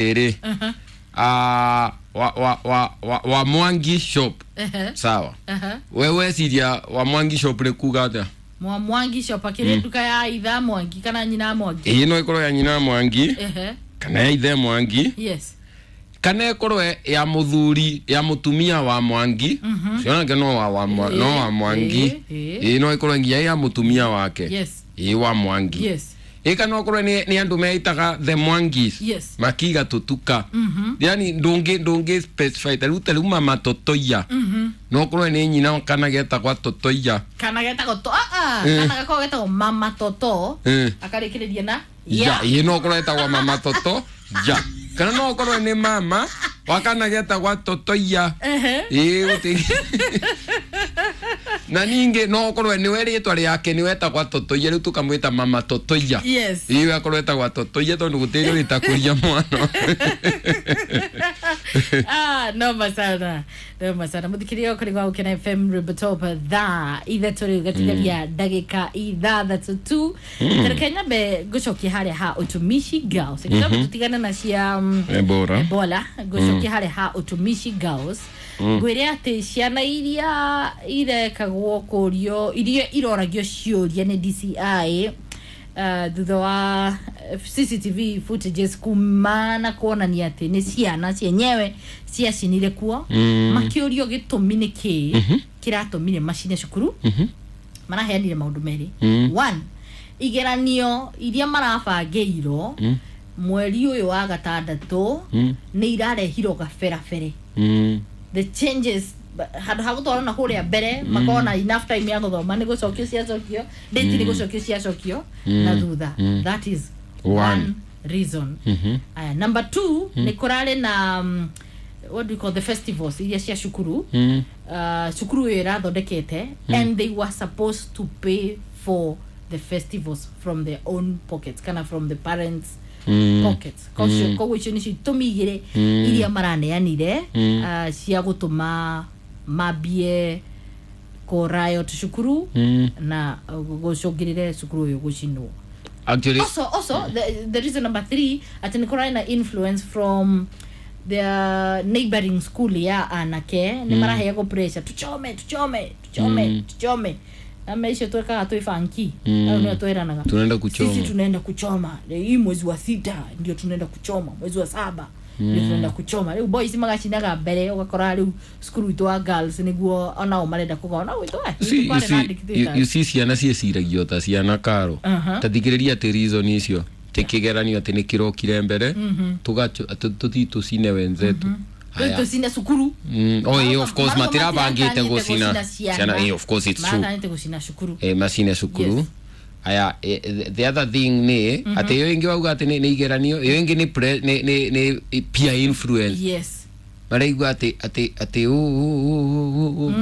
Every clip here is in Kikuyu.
Ere. Ah, wa Mwangi shop. Sawa. Wewe ciria wa Mwangi shop nĩ kuga atĩa? Mwa Mwangi shop akĩrĩ nduka ya itha Mwangi kana nyina Mwangi. Ĩĩ no ĩkorwo ya nyina Mwangi kana ya ithe Mwangi. Yes. Kana ĩkorwo ya mũthuri ya mũtumia wa Mwangi. Ũcio nake no wa no wa Mwangi. Ĩĩ no ĩkorwo nginya ya mũtumia wake. Yes. Ĩĩ wa Mwangi. Yes. Ĩĩ kana okorwo nĩ andũ meitaga the Mwangis. Yes. Makiga tutuka. Yani ndũngĩ specify ta rĩu ta rĩu mama Totoia. No okorwo nĩ nyina kana getagwa Totoia. Kana getagwo to ah ah kana gakorwo getagwo mama Toto. Akarĩkĩrĩria na ya. Ĩĩ no okorwo etagwa mama Toto ya. Kana no okorwo nĩ mama wa kana getagwa Totoia. Ĩĩ gũtirĩ. Na ningĩ no okorwo nĩwe rĩtwa rĩake nĩwe etagwa Totoia rĩu tũkamwĩta mama Totoia. Yes. Ĩĩ akorwo etagwa Totoia tondũ gũtirĩ ũrĩtakũria mwana. Ah, noma sana. Noma sana. Mũthikĩria kũrĩ gwa Gũkena FM Ribotop thaa ithatũ rĩu gatigaria ndagĩka ithathatũ tu. Reke nyambe ngũcokie harĩa ha Utumishi Girls. Kitambo tũtigane na cia Ebola. Ebola, ngũcokie harĩa ha Utumishi Girls. Ngwĩre atĩ ciana iria irekagwo kũrio iria iroragio ciũria nĩ DCI thutha wa CCTV footages kumana kuonania atĩ nĩ ciana cienyewe ciacinire kuo. Makĩũrio gĩtũmi nĩ kĩĩ kĩratũmire macine cukuru. Maraheanire maũndũ merĩ. One, igeranio iria marabangĩirwo mweri ũyũ wa gatandatũ nĩ irarehirwo gaberabere. The changes handũ ha gũtwarwo na kũrĩa mbere makona enough time ya gũthoma nĩ gũcokio ciacokio date nĩ gũcokio ciacokio na thutha. That is one reason. Aya, number two, nĩ kũrarĩ na what do you call the festivals iria cia cukuru. Cukuru ĩyo ĩrathondekete and they were supposed to pay for the festivals from their own pockets kana from the parents pockets. Koguo icio nĩcio itũmi igĩrĩ iria maraneanire cia gũtũma mambie kũ riot cukuru na gũcũngĩrĩre cukuru ũyũ gũcinwo. Actually, also the reason number three atĩ nĩ kũrarĩ na influence from their neighboring school ya anake nĩ maraheagwo pressure tuchome tuchome tuchome tuchome. Na icio twekaga twĩ banki au nĩo twĩranaga tunaenda kuchoma. Sisi tunaenda kuchoma hii mwezi wa 6 ndio tunaenda kuchoma, mwezi wa 7 ndio tunaenda kuchoma. Rĩu boys magacinaga mbere ũgakora rĩu cukuru itũ wa girls nĩguo onao marenda kũgona gwitũ. You see ciana ciĩciragio ta ciana karo. Ta thikĩrĩria atĩ reason icio ti kĩgeranio atĩ nĩ kĩrokire mbere tũthiĩ tũcine wenzetu. Tũcine cukuru. Oh yeah, of course matirabangĩte gũcina ciana. Of course it's true. Maratanyĩte gũcina cukuru. Macine cukuru. Aya, the other thing nĩ atĩ ĩyo ĩngĩ wauga atĩ nĩ igeranio, ĩyo ĩngĩ nĩ peer influence. Yes. Maraigua atĩ atĩ atĩ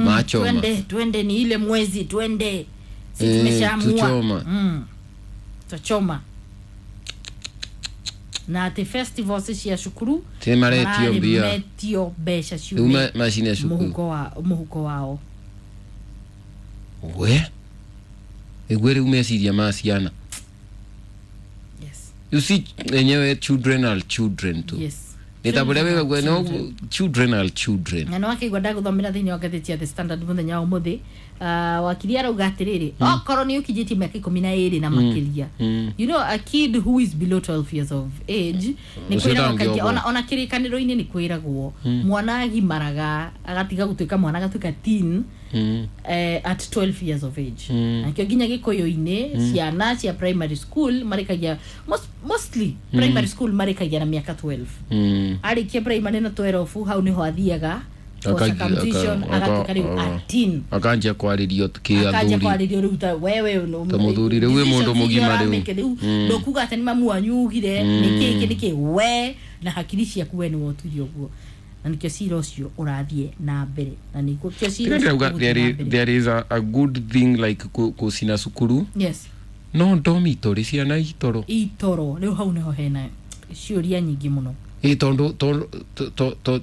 machoma. Twende twende ni ile mwezi twende. Sisi tumeshaamua. Tuchoma. Tuchoma. Na atĩ festivals cia cukuru ti maretio mbia. Maretio mbeca ciume macine cukuru. Mũhuko wao. We ĩguo rĩu meciria ma ciana. Yes. You see enyewe children are children too. Yes. Nĩ ta bũrĩa wĩgague no children are children. Na no akĩigua ndagũthomera thĩinĩ wa ngathĩti ya The Standard mũthenya wa ũmũthĩ. Wakiri arauga atĩrĩrĩ okorwo nĩ ũkinyĩtie mĩaka 12 na makĩria. You know a kid who is below 12 years of age nĩ kwĩragwo kaingĩ ona kĩrĩkanĩro-inĩ nĩ kwĩragwo mwana agimaraga agatiga gũtuĩka mwana agatuĩka teen at 12 years of age. Nakĩo nginya gĩkũyũ-inĩ ciana cia primary school marĩkagia mostly primary school marĩkagia na mĩaka 12. Arĩkia primary na 12 hau nĩho athiaga circumcision agatuĩka rĩu a teen. Akanjia kwarĩrio kĩ athuri. Akanjia kwarĩrio rĩu ta wewe ta mũthuri rĩu wĩ mũndũ mũgima rĩu. Ndũkuga atĩ nĩ mamu wanyu ugire nĩkĩ nĩkĩ we na hakiri ciaku we nĩwe ũtuire ũguo. Na nĩkĩo cira ũcio ũrathiĩ na mbere. Na nĩkĩo cira ũcio there is a good thing like gũcina cukuru. Yes. No ndomitorĩ ciana itoro. Itoro rĩu hau nĩho hena ciũria nyingĩ mũno. Ĩ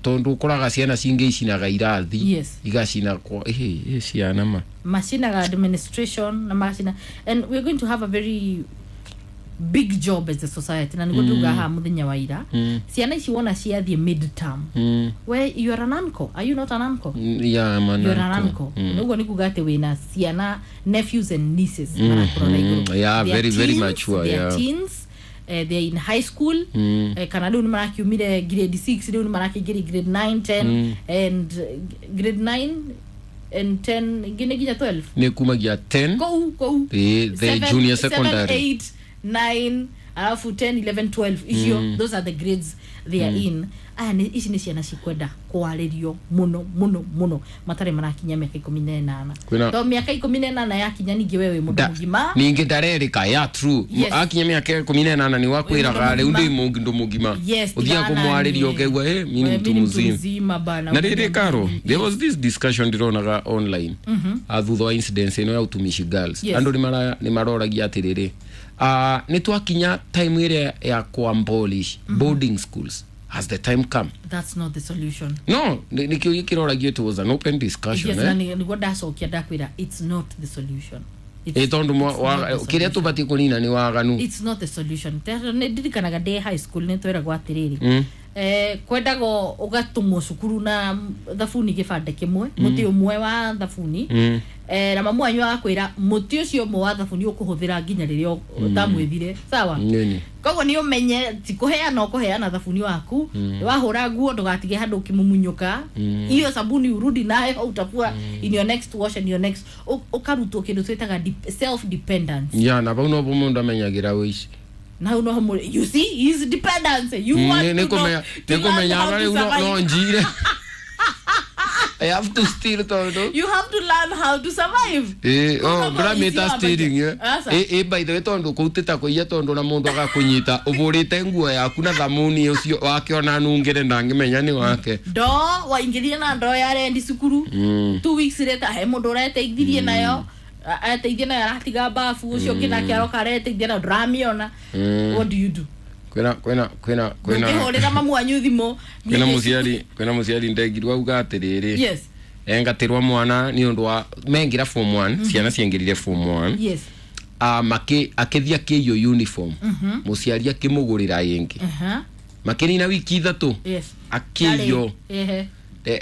tondu ũkoraga ciana cingĩ icinaga irathi. Yes. Igacina kwa ĩ ciana ma macinaga administration na macina, and we're going to have a very big job as a society na niguo tuga ha muthenya wa ira. Ciana ici wona ciathiĩ mid-term. We you are an uncle, are you not an uncle? Yeah, I'm an you are an uncle. Niguo ni kuga ati wina ciana nephews and nieces marakurora iguru. Yeah, very very mature. They are teens, they are in high school. Kana riu ni marakiumire grade 6, riu ni marakĩingĩria grade 9 10 and grade 9 and 10 nginya 12. Ni kumagia 10 kou the junior secondary 7 8 9 alafu 10 11 12 icio. Those are the grades they are in. Aya ni ici ni ciana cikwenda kwaririo muno muno muno matari marakinya miaka 18. To miaka 18 yakinya ningi wewe mundu mugima ningi ndarerika ya true. Yes. Akinya miaka 18 ni wakwiraga riu ndi mundu mugima. Uthia kumwaririo ukegwa mimi mtu mzima bana. Na riri Karo, there was this discussion ndironaga online thutha wa incidents ino ya utumishi girls. Andu ni maroragia atiriri, ni twakinya time ire ya kuabolish boarding schools. Has the time come? That's not the solution. No, nikio kiroragia it was an open discussion. Yes, niguo ndacokia ndakwira it's not the solution. Tondu kiria tubati kunina ni waganu. It's not the solution. Ndirikanaga ndĩ high school ni tweragwo atiriri, kwendago ugatumwo cukuru na thabuni gibande kimwe, muti umwe wa thabuni, na mamu wanyu agakwira muti ucio umwe wa thabuni ukuhuthira nginya riria utamwithire sawa. Koguo ni umenye ti kuheana ukuheana thabuni waku, wahura nguo ndugatige handu ukimumunyuka, iyo sabuni urudi nayo utafua in your next wash and your next ukarutwo kindu twitaga self dependence. Yeah, na bau no mundu amenyagira wici. Now no, you see his dependence. You want to know no njire. I have to steal todo. You have to learn how to survive. Oh, brameta stealing yeah. By the way tondu kutita kuiya tondu na mundu agakunyita uburite nguo yaku na thamuni ucio wake ona nungire ndangimenya ni wake. Ndo waingirie na ndo ya rendi cukuru. 2 weeks later he mundu ureteithirie nayo. Ateithia nayo aratiga bafu ucio kinake aroka areteithia nayo ndramiona. What do you do? Kwena ndũngĩhũrĩra mamu wanyu thimũ. Kwena muciari ndegirwo auga atiriri. Yes. Engatirwa mwana ni undu wa mengira form 1, ciana ciengirire form 1. Yes. Akithia akiyo uniform. Muciari akimugurira ingi. Makinina wiki 3. Yes. Akiyo.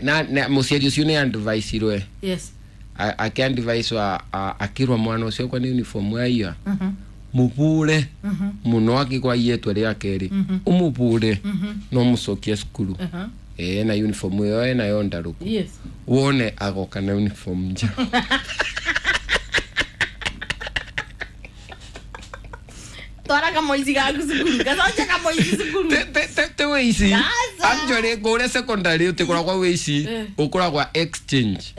Na muciari ucio ni advice irwe. Yes. Akiadvise wa akirwa mwana ucio kwa ni uniform yaiya. Mubure muno akigwa yetwe ria keri umubure no mucokie cukuru. Na uniform yo nayo ndaruku. Yes. Wone agoka na uniform nja. Twara kamoici gaku cukuru gacokia kamoici cukuru te weici. Actually kure secondary utikoragwa weici, ukoragwa exchange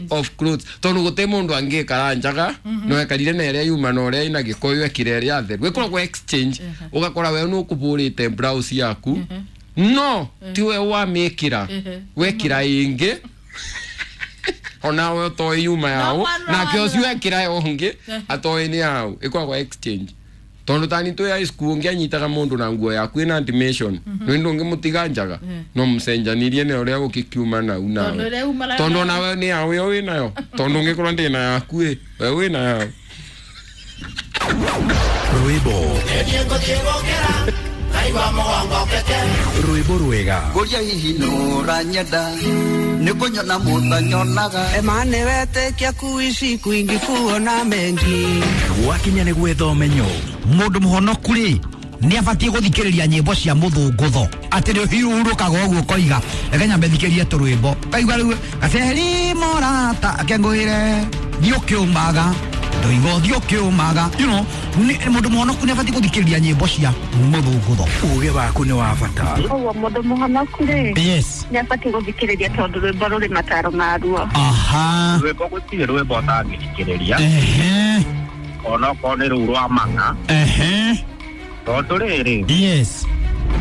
of clothes tondu gute mundu angikara njaga no ekarire na iria yuma na uria ina gikoyo ekire iria theru ikoragwa exchange. Ugakora we nu kuburite blouse yaku no tiwe wamikira wekira ingi ona we toi yuma yao na kio cio ekira ungi atoi ni yao ikoragwa exchange. Tondu tani twi high school ngianyitaga mundu na nguo yaku ina animation no ndungimutiga njaga no mucenjanirie na uria gukikiuma nau nawe tondu nawe ni yawe yo winayo tondu ngikorwo ndi na yaku we wina yao. Rwimbo rwimbo rwega nguria hihi nuranyenda nikunyona mutanyonaga emane wetekia kuishi kwingi kuona mengi gwakinya ni gwetha umenyo mundu muhonoku ri ni abatie guthikiriria nyimbo cia muthungutho ati ni hiurukaga uguo koiga reke nyambe thikiririe turwimbo kaigua riu gaceri morata akenguire thiĩ ũkĩũmaga ndoiga ũthiĩ ũkĩũmaga you know mundu muhonoku ni abatie guthikiriria nyimbo cia muthungutho uge waku ni wa bata koguo mundu muhonoku ri yes ni abatie guthikiriria tondu rwimbo ruri mataro maruo. Aha, rwimbo gutire rwimbo utangithikiriria ehe onokorwo ni rũu rwa mang'a ehe tondu rĩrĩ yes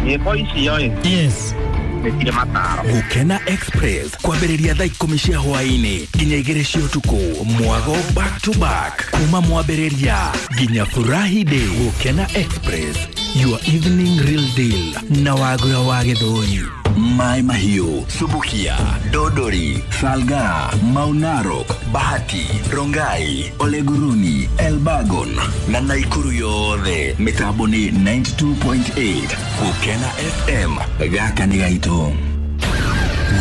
nyĩmbo icio ĩ yes nĩ mataro. Gukena Express kwambĩrĩria thaa 10 cia hwaĩ-inĩ nginya 2 cia ũtukũ mwago back to back kuma mwambĩrĩria nginya furahi day. Gukena Express. Your evening real deal na wagura wa gĩthũri. Mai Mahiu, Subukia, Dodori, Salga, Maunarok, Bahati, Rongai, Oleguruni, Elbagon na Naikuru yothe mitambo ni 92.8 Gukena FM gaka nĩ gaitũ.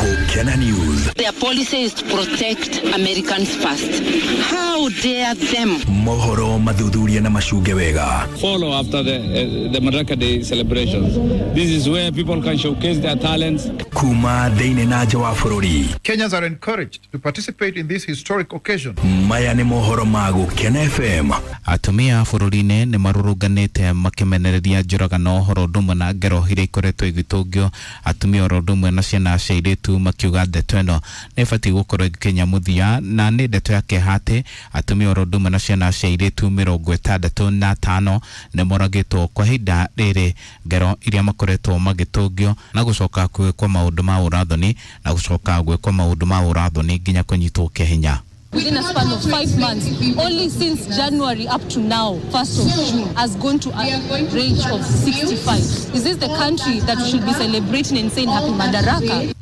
Gukena News. Their policy is to protect Americans first. How dare them? Mohoro mathuthuria na macunge wega. Follow after the Madaraka Day celebrations. This is where people can showcase their talents. Kuma thĩinĩ na nja wa bũrũri. Kenyans are encouraged to participate in this historic occasion. Maya nĩ mohoro ma Gukena FM. Atumia bũrũri-inĩ nĩ marũrũnganĩte makĩmenereria njũragano ũhoro ũndũ ũmwe na ngero iria ikoretwo igĩtũngio atumia oro ũndũ ũmwe na ciana cia airĩtu makiuga ndeto ĩno nĩ ĩbatiĩ gũkorwo ĩgĩkinya mũthia na nĩ ndeto ya kĩeha atĩ atumia oro ũndũ ũmwe na ciana cia airĩtu 65 nĩ moragĩtwo kwa ihinda rĩrĩ ngero iria makoretwo magĩtũngio na gũcoka gwĩkwo maũndũ ma ũrathoni na gũcoka gwĩkwo maũndũ ma ũrathoni nginya kũnyitwo kĩa hinya. Within a span of 5 months, only since January up to now, 1st of June, has gone to a range of 65. Is this the country that we should be celebrating and saying Happy Madaraka?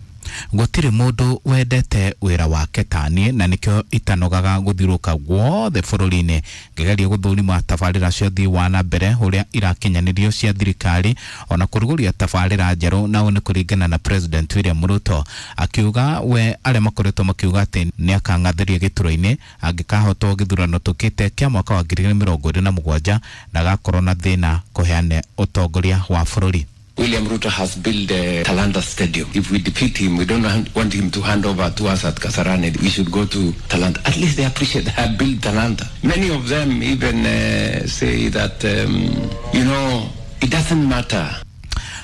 Gũtirĩ mũndũ wendete wĩra wake taniĩ na nĩkĩo itanogaga gũthiũrũka guothe bũrũri-inĩ ngĩgeria gũthũrima tabarĩra cia ũthii wa na mbere ũrĩa irakinyanĩrio cia thirikari ona kũrugũria tabarĩra njerũ na ũũ nĩ kũringana na President William Ruto akiuga we arĩa makoretwo makiuga atĩ nĩ akang'athĩria gĩturwa-inĩ angĩkahotwo gĩthurano tũkĩte kĩa mwaka wa 2027 ndagakorwo na thĩna kũheane ũtongoria wa bũrũri. William Ruto has built the Talanta Stadium. If we defeat him, we don't want him to hand over to us at Kasarani. We should go to Talanta. At least they appreciate that I built Talanta. Many of them even say that, you know, it doesn't matter.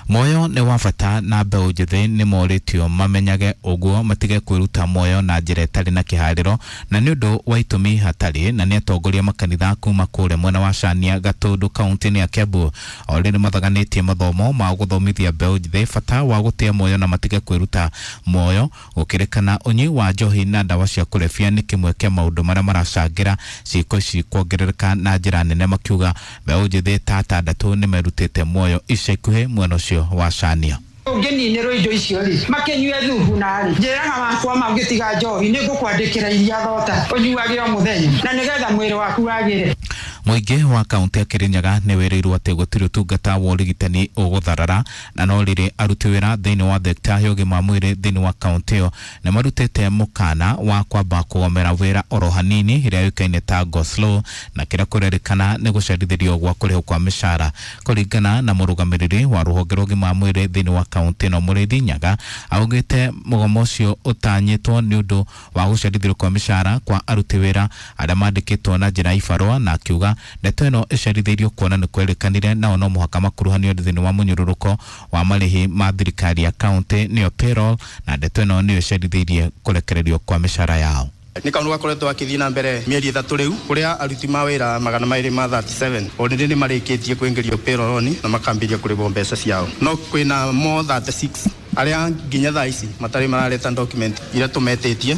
Moyo nĩ wa bata na mbeũ njĩthĩ nĩ morĩtio mamenyage ũguo matige kwĩruta moyo na njĩra ĩtarĩ na kĩharĩro na nĩ ũndũ wa itũmi hatarĩ na nĩ atongoria makanitha kuma kũrĩa mwena wa Cania Gatũndũ kaunti-inĩ ya Kiambu o rĩrĩ mathaganĩtie mathomo ma gũthomithia mbeũ njĩthĩ bata wa gũtĩa moyo na matige kwĩruta moyo gũkĩrĩkana ũnyui wa njohi na ndawa cia kũrebia nĩ kĩmwe kĩa maũndũ marĩa maracangĩra ciĩko ici kuongerereka na njĩra nene makiuga mbeũ njĩthĩ ta atandatũ nĩ merutĩte muoyo ica ikuhĩ mwena ũcio wa Cania. Ũngĩninĩrwo indo icio rĩ makĩnyue thubu narĩ njĩraga wakwa ma ũngĩtiga njohi nĩ ngũkwandĩkĩra iria thota ũnyuage o mũthenya na nĩgetha mwĩrĩ waku wagĩre. Mũingĩ wa kaunti ya Kirinyaga nĩ wĩrĩirwo atĩ gũtirĩ ũtungata wa ũrigitani ũgũtharara na no rĩrĩ aruti wĩra thĩinĩ wa thekta ya ũgima wa mwĩrĩ thĩinĩ wa kaunti ĩyo nĩ marutĩte mũkana wa kwamba kũgomera wĩra oro hanini ĩrĩa yũĩkaine ta go slow na kĩrĩa kũrerĩkana nĩ gũcerithĩrio gwa kũrĩhwo kwa mĩcara kũringana na mũrũgamĩrĩri wa rũhonge rwa ũgima wa mwĩrĩ thĩinĩ wa kaunti ĩno Mũrĩithi Nyaga augĩte mũgomo ũcio ũtanyĩtwo nĩ ũndũ wa gũcerithĩrio kwa mĩcara kwa aruti wĩra arĩa mandĩkĩtwo na njĩra ya ibarũa na akiuga ndeto ĩno ĩcerithĩirio kuona nĩ kwerĩkanire nao no mũhaka makuruhanio thĩinĩ wa mũnyũrũrũko wa marĩhi ma thirikari ya kaunti nĩyo payroll na ndeto ĩno nĩyo ĩcerithĩirie kũrekererio kwa mĩcara yao. Nĩ kaũndũ gakoretwo gakĩthiĩ na mbere mĩeri 3 rĩu kũrĩa aruti ma wĩra 237 already nĩ marĩkĩtie kũingĩrio payroll-inĩ na makambĩrĩria kũrĩhwo mbeca ciao no kwĩna more 36 arĩa nginya thaa ici matarĩ marareta document iria tũmetĩtie.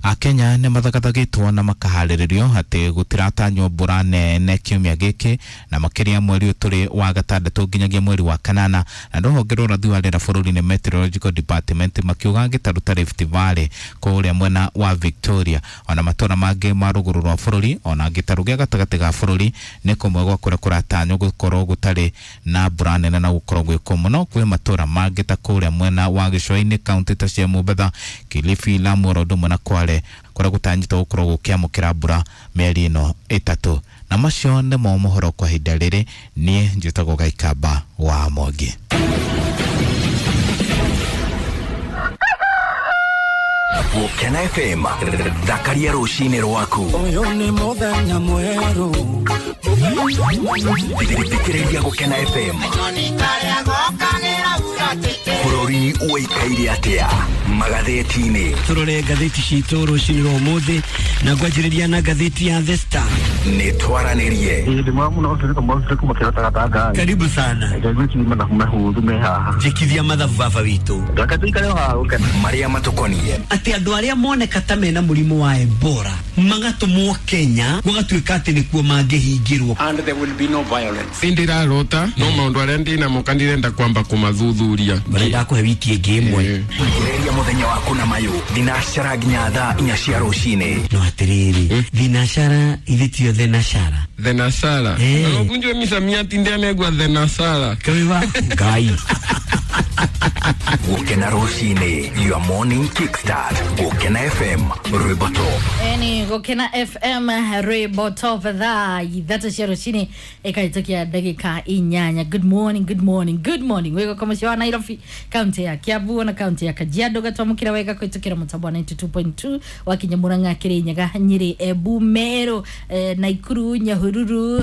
Akenya nĩ mathagathagĩtwo na makaharĩrĩrio atĩ gũtiratanywo mbura nene kiumia gĩkĩ na makĩria mweri ũyũ tũrĩ wa gatandatũ nginyagia mweri wa kanana na rũhonge rwa ũrathi wa rĩera bũrũri-inĩ Meteorological Department makiuga gĩtarũ ta Rift Valley kũrĩa mwena wa Victoria ona matũra mangĩ ma rũgũrũ rwa bũrũri ona gĩtarũ gĩa gatagatĩ ga bũrũri nĩ kũmwe gwa kũrĩa kũratanywo gũkorwo gũtarĩ na mbura nene na gũkorwo gwĩ kũmũ no kwĩ matũra mangĩ ta kũrĩa mwena wa gĩcũa-inĩ kaunti ta cia Mombatha, Kilifi, Lamu oro ũndũ ũmwe na Kwale kũrĩa gũtanyĩtwo gũkorwo gũkĩamũkĩra mbura mĩeri ĩno ĩtatũ. Na macio nĩmo mohoro kwa ihinda rĩrĩ. Niĩ njĩtagwo Gaikamba wa Mwangi. Gukena FM thakaria rũcinĩ rwaku. Ũyũ nĩ mũthenya mwerũ. Thikĩrĩria Gukena FM. Bũrũri ũikaire atĩa magathĩti-inĩ? Tũrore ngathĩti citũ rũcinĩ rwa ũmũthĩ na ngwanjĩrĩria na ngathĩti ya The Star. Nĩ twaranĩrie. Karibu sana. Njĩkithia mathabu baba witũ. Marĩa matũkoniĩ. Atĩ andũ arĩa moneka ta mena mũrimũ wa Ebola magatũmwo Kenya gũgatuĩka atĩ nĩkuo mangĩhingĩrwo. And there will be no violence. Ndirarota no maundu aria ndinamo kandirenda kwamba kumathuthuria. Barenda kũhe wiki ĩngĩ ĩmwe. Ambĩrĩria mũthenya waku na mayũ thinacara nginya thaa 4 cia rũcinĩ. No atĩrĩrĩ, thinashara ithe tio thenashara. Thenashara. Ukunjwe misamiati ndianegwa thenashara. Kawiwa Ngai. Gũkena rũcinĩ, your morning kickstart. Gũkena FM, rwĩmbo top. Eni Gũkena FM rwĩmbo top thaa 3 cia rũcinĩ ĩkahĩtũkia ndagĩka 8. Good morning, good morning, good morning. Wĩgo kwa mũciĩ wa Nairobi, kaunti ya Kiambu na kaunti ya Kajiado gatwamũkĩra wega kũhĩtũkĩra mũtambo wa 92.2 wakinya Murang'a, Kirinyaga, Nyĩrĩ, Embu, Meru, Naikuru, Nyahururu,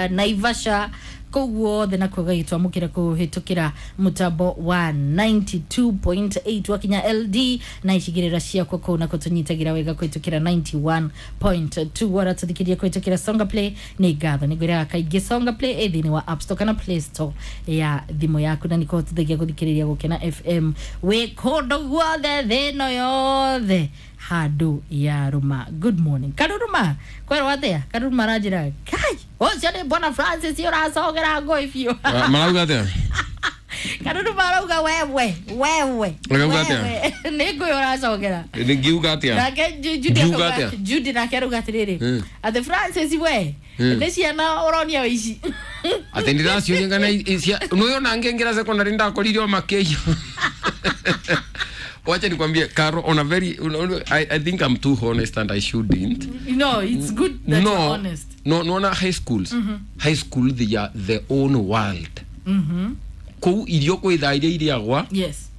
Naivasha kũu guothe nakuo gagĩtwamũkĩra kũhĩtũkĩra mũtambo wa 92.8 wakinya LD na icigĩrĩra ciakwa kũu nakuo tũnyitagĩra wega kũhĩtũkĩra 91.2 waratũthikĩria kũhĩtũkĩra Songa Play nĩ ngatho nĩ ngwĩraga kaingĩ Songa Play ĩ thĩinĩ wa App Store kana Play Store ya thimũ yaku na nĩkũhotithagia gũthikĩrĩria Gũkena FM wĩ kũndũ guothe thĩ ĩno yothe handũ ya rũma. Good morning Karuruma, kwerwo atĩa? Karuruma aranjĩra kai ũcio nĩ Bwana Francis ũracogera ngũĩ biũ. Marauga atĩa? Karuruma arauga wewe wewe. Arauga atĩa? Nĩ ngũĩ ũracogera. Ngiuga atĩa? Nake Judy nake arauga atĩrĩrĩ atĩ Francis we nĩ ciana ũronia ũici. Atĩ ndĩraciũria kana nĩũĩ ona ngĩingĩra secondary ndakorire o makĩiyo. Wacha nikwambie Caro, on a very I think I'm too honest and I shouldn't. No, it's good that you're honest. No, no, na high schools. High school they are their own world. Kuu irio kwitha iria iriagwa. Yes.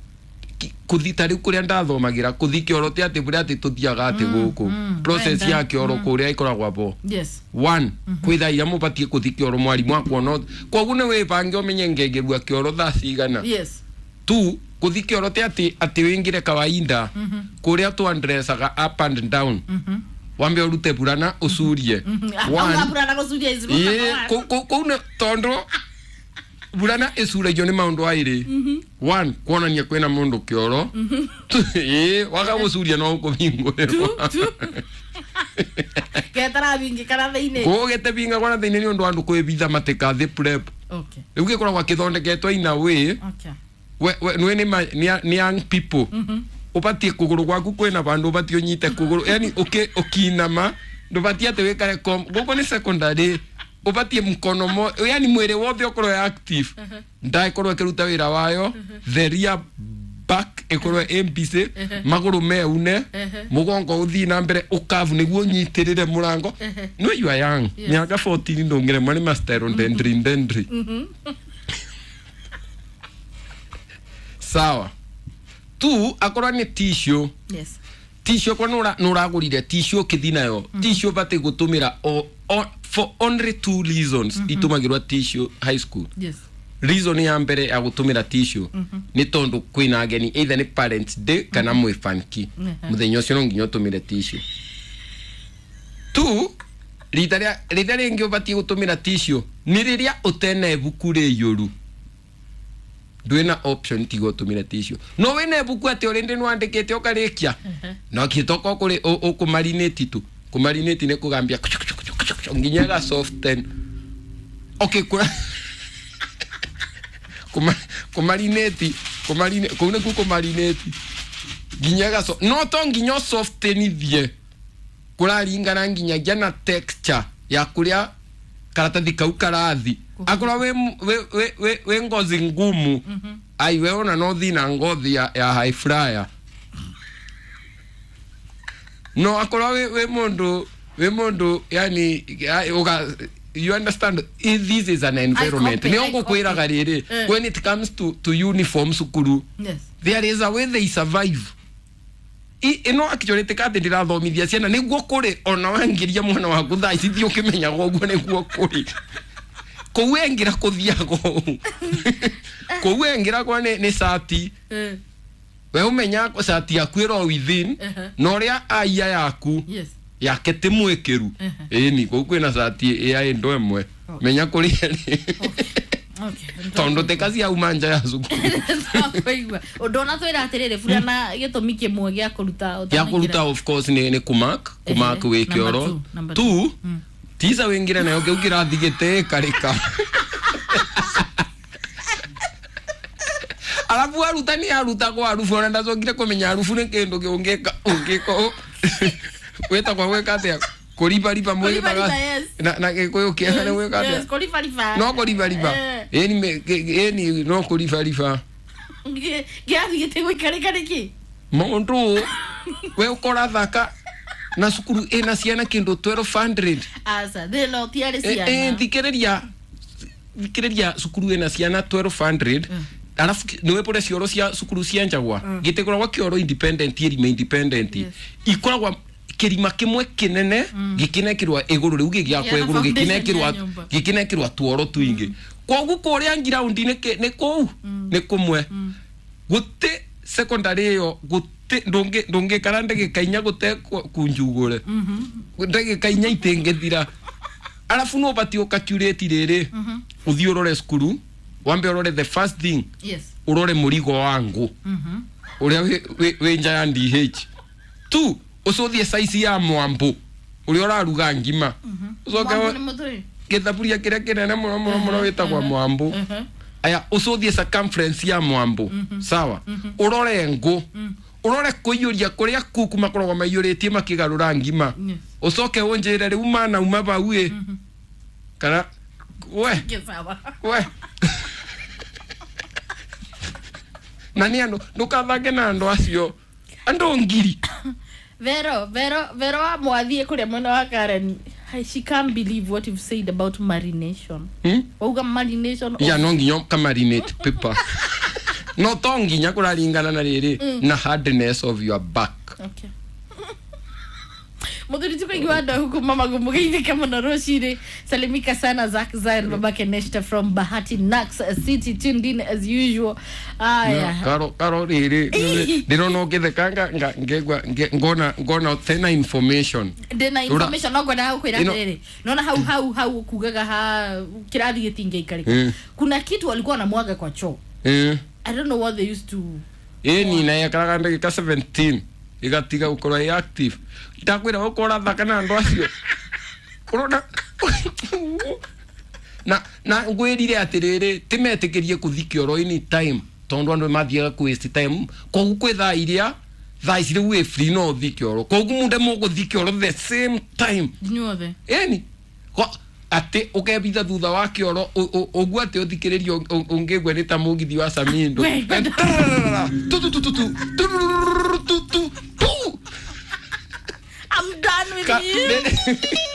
Kuthi tari kuria ndathomagira kuthi kioro ti ati buria ati tuthiaga ati guku. Process ya kioro kuria ikoragwa bo. Yes. One, kwitha iria mubatie kuthi kioro mwarimu akuona. Koguo ni wibange umenye ngengerua kioro thaa cigana. Yes. Two, kuthi kioro ti ati ati wingire kawaida kuria twandressaga up and down. Wambe urute burana ucurie. One, burana gucuria ici. Kuu nĩ tondu burana icuragio nĩ maũndũ aĩrĩ. One, kuonania kwĩna mũndũ kĩoro. Waga gũcuria no ũkũhingũrĩrwo. Getara thĩinĩ. Kũu getebingagwo na thĩinĩ nĩ ũndũ wa andũ kwĩbitha matikathĩ prep. Okay. Rĩu gĩkoragwo gĩthondeketwo in a way. Okay. We nĩ young people. Ũbatiĩ kũgũrũ gwaku kwĩna vandũ ũbatiĩ ũnyite kũgũrũ. Yani ũkinama ndũbatiĩ atĩ wĩkare gũkũ nĩ secondary ũbatiĩ mkono mo yani mwĩrĩ wothe ũkorwo active. Nda ĩkorwo ĩkĩruta wĩra wayo, the rear back ĩkorwo ĩ busy, magũrũ meune, mũgongo ũthiĩ na mbere ũkavu nĩguo ũnyitĩrĩre mũrango. No you are young. Mĩaka 14 ndũngĩremwo nĩ masterodendri ndendri. Sawa. Tu akorwo nĩ tissue. Yes. Tissue kwa nũragũrire tissue ũkĩthi nayo. Tissue ũbatiĩ gũtũmĩra for only two reasons itumagĩrwo tissue high school. Yes. Reason ya mbere ya gũtũmĩra tissue nĩ tondũ kwĩna ageni either nĩ parents day kana mwĩ fanki. Mũthenya ũcio no nginya ũtũmĩre tissue. Two, rita rĩngĩ ũbatiĩ gũtũmĩra tissue nĩ rĩrĩa ũtena ibuku rĩiyũru. Ndwĩna option tiga ũtũmĩre tissue. No wĩna ibuku atĩ ũrĩndĩ nĩwandĩkĩte ũkarĩkia. No kĩtoka ũkũrĩ ũkũmarinĩti tu. Kũmarinĩti nĩ kũgambia nginya ĩga soften. Okay, kũra kũmarinĩti kũu nĩkuo kũmarinĩti nginya ĩga no to nginya ũsoftenithie kũraringana nginyagia na texture ya kũrĩa karatathi kau karathi. Akorwo wĩ ngozi ngumu, ai we ona no thi na ngothi ya high flyer. No akorwo wĩ mũndũ yani you understand this is an environment. Nĩ ngũkwĩraga rĩrĩ, when it comes to uniform cukuru, yes, there is a way they survive. Ĩno actually ti atĩ ndĩrathomithia ciana nĩguo kũrĩ ona wangĩria mwana waku thaa ici thiĩ ũkĩmenyaga ũguo nĩguo kũrĩ. Kũu engĩra kũthiaga ũũ. Kũu engĩra kwa nĩ cati. We ũmenya cati yaku ĩro within na ũrĩa aia yaku. Yes. Yake ti mwikiru. Ĩni kũu kwĩna cati ya ĩndo ĩmwe. Menya kũrĩa nĩ. Tondũ ti kaciauma nja ya cukuru. Twaigua ũndũ ona twĩra atĩrĩrĩ burana gĩtũmi kĩmwe gĩa kũruta Ya kũruta of course nĩ kũmark kũmark wĩ Number kĩoro. two, number Two, tisa wĩngĩre nayo kĩu kĩrathi gĩtĩĩkarĩka. Arabu arutani arutagwo arubu ona ndacokire kũmenya arubu nĩ kĩndũ kĩũngĩka ũngĩka wĩtagwo gwĩka atĩa kũribariba mwĩtaga Kũribariba, yes. na gĩkũyũ kĩega nĩ gwĩka Yes, atĩa kũribariba. no kũribariba. Ĩni no kũribariba. Kĩrathi gĩtigũikarĩka nĩkĩ? Mũndũ we ũkorathaka na cukuru ĩna ciana kĩndũ 1200. Aca thĩna ũtiarĩ ciana. Thikĩrĩria thikĩrĩria cukuru ĩna ciana 1200 arabu nĩwe pore cioro cia cukuru cia njagwa gĩtĩkoragwo kĩoro independent ĩrima independent ikoragwo kĩrima kĩmwe kĩnene gĩkĩnekĩrwa ĩgũrũ rĩu gĩgĩakwo Kĩana ĩgũrũ foundation ya gĩkĩnekĩrwa nyũmba. gĩkĩnekĩrwa tuoro tuingĩ koguo kũrĩa ngiraundi nĩ kũu nĩ kũmwe gũtĩ secondary ĩyo gũtĩ ndũngĩkara ndagĩka inya gũte kunjugũre ndagĩka inya itingĩthira arabu no ũbatiĩ ũkacurĩti rĩrĩ ũthiĩ ũrore cukuru wambe ũrore the first thing. Yes. Ũrore mũrigo wa ngũ ũrĩa wĩ nja ya DH tu ũcũthie size ya mwambũ ũrĩa ũraruga ngima ũcoke Mwambũ nĩ mũthũĩ? Gĩthaburia kĩrĩa kĩnene mũno mũno mũno wĩtagwo mwambũ. Aya ũcũthie circumference ya mwambũ sawa ũrore ngũ ũrore kũiyũria kũrĩa kuku makoragwo maiyũrĩtie makĩgarũra ngima ũcoke ũnjĩre rĩu mana uma bau ĩ kana we Gĩsawa. We na nĩ andũ ndũkathake na andũ acio andũ ngiri. Vero, Vero, Vero wa mwathiĩ kũrĩa mwena wa Karen. Hi, she can't believe what you've said about marination. Wauga marination of- Ya no nginya ũkamarinate paper no to nginya kũraringana na rĩrĩ na hardness of your back. Okay. Muthuri tukaigua andũ huku mama gumugeithĩka mũno rũcinĩ. Salimika sana Zack Zion babake Neshta from Bahati Nax City tuned in as usual. Aya. Karo karo rĩrĩ ndĩrona ũngĩtheka ngegua ngona ngona tena information. Ndĩna information no ngwendaga gũkwĩra atĩrĩrĩ nona hau hau hau kugaga ha kĩrathi gĩtingĩikarĩka kuna kitu walikuwa wanamwaga kwa choo. I don't know what they used to. Ĩni na yekaraga ndagĩka 17 ĩgatiga gũkorwo ĩ active ndakwĩra ũkorwo ũrathaka na andũ acio ũrona na ngwĩrire atĩrĩrĩ timetĩkĩrie kũthi kĩoro any time tondũ andũ mathiaga kũ waste time koguo kwĩ thaa iria thaa ici rĩu wĩ free no ũthi kĩoro koguo munde mũgũthi kĩoro the same time inyuothe. Ĩni atĩ ũkebitha thutha wa kĩoro ũguo atĩ ũthikĩrĩrio ũngĩgua nĩ ta mũgithi wa Samindo. Tu tu tu tu tu tu tu tu. I'm done with you.